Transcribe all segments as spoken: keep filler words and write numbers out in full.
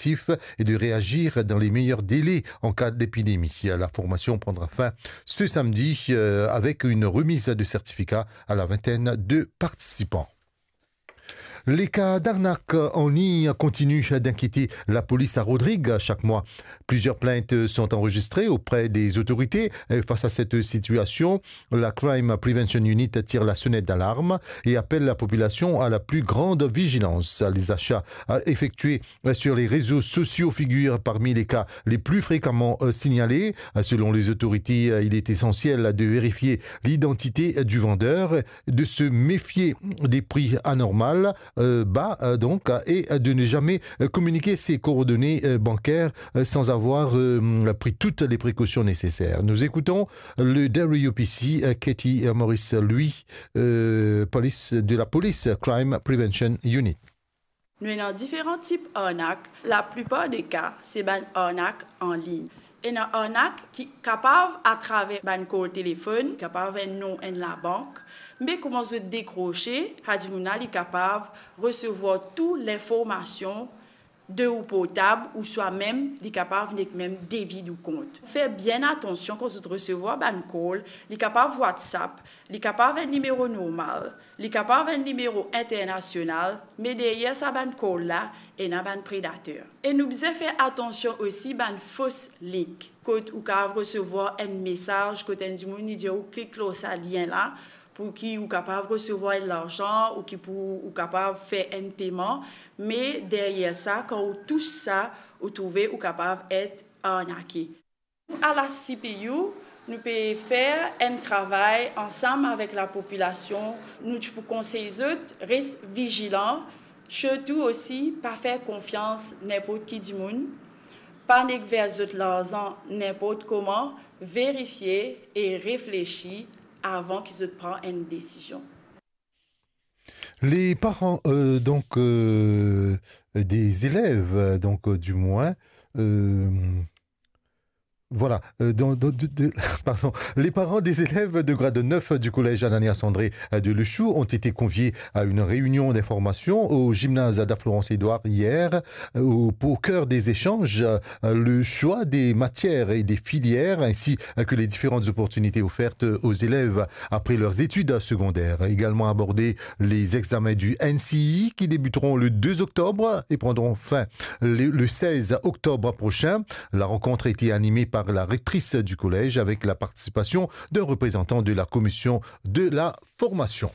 réactifs et de réagir dans les meilleurs délais en cas d'épidémie. La formation prendra fin ce samedi, euh, avec une remise de certificats à la vingtaine de participants. Les cas d'arnaque en ligne continuent d'inquiéter la police à Rodrigues chaque mois. Plusieurs plaintes sont enregistrées auprès des autorités. Et face à cette situation, la Crime Prevention Unit tire la sonnette d'alarme et appelle la population à la plus grande vigilance. Les achats, euh, effectués, euh, sur les réseaux sociaux figurent parmi les cas les plus fréquemment, euh, signalés. Euh, selon les autorités, euh, il est essentiel de vérifier l'identité, euh, du vendeur, de se méfier des prix anormaux, euh, bas, euh, donc, euh, et, euh, de ne jamais, euh, communiquer ses coordonnées, euh, bancaires, euh, sans avoir, euh, pris toutes les précautions nécessaires. Nous écoutons le W P C, euh, Katie, euh, Maurice Louis, euh, police, de la police Crime Prevention Unit. Nou ena diferan tip arnak. Laplipar de ka, se bann arnak an lign. Ena arnak ki kapav atraver bann kol telefonn, kapav enn non enn labank, me kouma zot dekrose, sa dimoun la li kapav resevwar tou linformasion de ou portab, ouswa mem li kapav nek mem devid ou kont. Fer bien atansion kan zot resevwar bann kol, li kapav WhatsApp, li kapav enn nimero normal, li kapav enn nimero internasional, me deryer sa bann kol la, ena bann predater. E nou bizin fer atansion osi bann fos link, kot ou kapav resevwar enn mesaz, kot enn dimoun li dir ou klik lor sa lien la, pou ki ou kapav resevwar enn larzan, ou ki pou ou kapav fer enn peman, me deryer sa, kan ou tous sa, ou trouve ou kapav et arnake. A la C P U, nou pe fer enn travay ansam avek lapopilasion. Nou ti pou konsey zot res vizilan, sirtou osi pa fer konfians ninport ki dimoun, pa nek ver zot larzan ninport kouma, verifie e reflesi avan ki zot pran enn desizion. Les parents, euh, donc, euh, des élèves, euh, donc, euh, du moins, euh, voilà, euh, donc, donc, de, de, pardon, les parents des élèves de grade neuf du collège Ananias André, euh, de Le Chou ont été conviés à une réunion d'information au gymnase Ada Florence Édouard hier, euh, au, au cœur des échanges, euh, le choix des matières et des filières, ainsi que les différentes opportunités offertes aux élèves après leurs études secondaires. Également abordés les examens du N C E E qui débuteront le deux octobre et prendront fin le, le seize octobre prochain. La rencontre a été animée par la rectrice du collège avec la participation d'un représentant de la commission de la formation.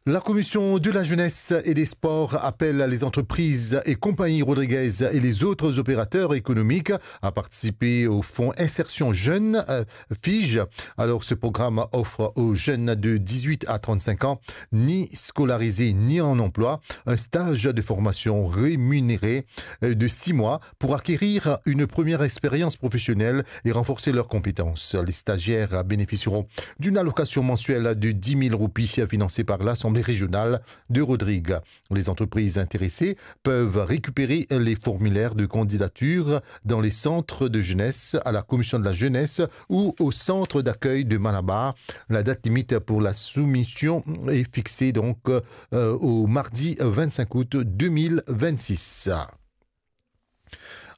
La Commission de la Jeunesse et des Sports appelle les entreprises et compagnies rodriguaises et les autres opérateurs économiques à participer au fonds Insertion Jeune, euh, FIJ. Alors, ce programme offre aux jeunes de dix-huit à trente-cinq ans, ni scolarisés ni en emploi, un stage de formation rémunéré, euh, de six mois pour acquérir une première expérience professionnelle et renforcer leurs compétences. Les stagiaires bénéficieront d'une allocation mensuelle de dix mille roupies financée par l'Assemblée régionale de Rodrigues. Les entreprises intéressées peuvent récupérer les formulaires de candidature dans les centres de jeunesse, à la commission de la jeunesse ou au centre d'accueil de Malabar. La date limite pour la soumission est fixée donc, euh, au mardi vingt-cinq août deux mille vingt-six.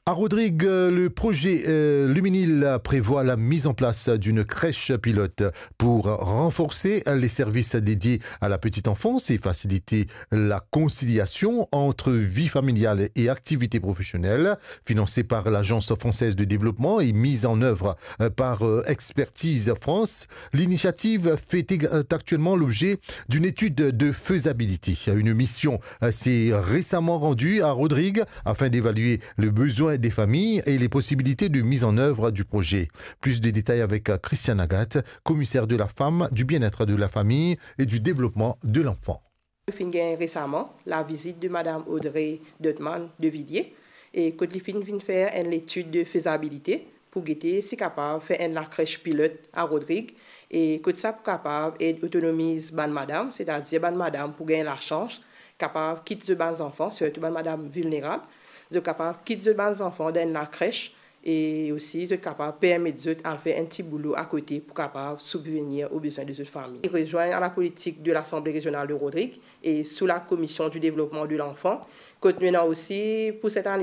À Rodrigues, le projet, euh, Luminil prévoit la mise en place d'une crèche pilote pour renforcer les services dédiés à la petite enfance et faciliter la conciliation entre vie familiale et activité professionnelle. Financée par l'Agence française de développement et mise en œuvre, euh, par, euh, Expertise France, l'initiative fait ex-, actuellement l'objet d'une étude de faisabilité. Une mission, euh, s'est récemment rendue à Rodrigues afin d'évaluer le besoin des familles et les possibilités de mise en œuvre du projet. Plus de détails avec, euh, Christiane Agathe, commissaire de la femme, du bien-être de la famille et du développement de l'enfant. Nou finn gagn resaman lavizit de Madam Audrey Deutman de Villiers, e kot li finn vinn fer enn letid de fezabilite pou gete si kapav fer enn lakrech pilot a Rodrig, e kot sa pou kapav ed otonomiz bann madam, setadir bann madam pou gagn lasans kapav kit zot bann zanfan, sirtou bann madam vilnerab, zot kapav kit zot bann zanfan dan enn lakrech, e osi zot kapav permet zot al fer enn ti boulo akote pou kapav sibvenir o bezwin de zot fami. Rezwinn a lapolitik de Lasanble Rezional de Rodrig e sou Lakomision di Devlopman de Lanfan, kot nou ena osi pou set ane